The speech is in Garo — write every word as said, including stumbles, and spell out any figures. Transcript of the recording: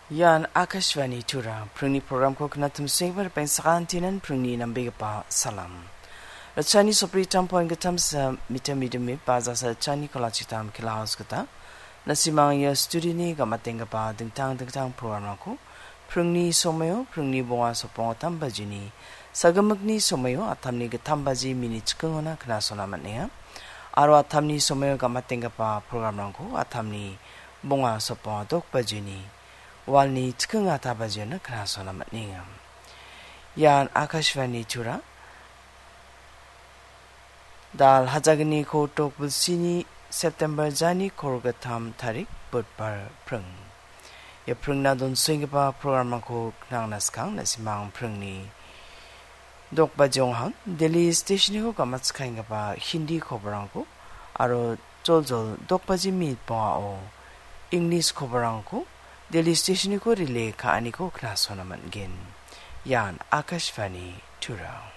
Ian Akashvani Tura, pringni programko knatimsengbar pengsakantinan pringni nambegipa salam. Rachani sopri tampon gatamsa mitamidimi bazasa chani kolachitam kilaos gita. Nasimang ia studioni gamatenggipa dingtang dingtang programrangko pringni somaio pringni bonga sopong tam bajini, sagamikni somaio atamni gitam baji mini chikingona knasona man·enga. Aro atamni somaio gamatenggipa programrangko atamni bonga sopong dok bajini, walni chiking ata bajiona knasona man·enga. Ian Akashvani Tura. Dal hajagni kotok bilsini September jani korgatam tarik budbar pring. Ia pringna donsenggipa programrangko knangna skang nasimang pringni dokbajonghang Delhi stationiko gamatskanggipa Hindi koborangko aro joljol dokbaji minit bongao English koborangko Delhi stationiko relay ka·aniko knasona man·gen. Ian Akashvani Tura.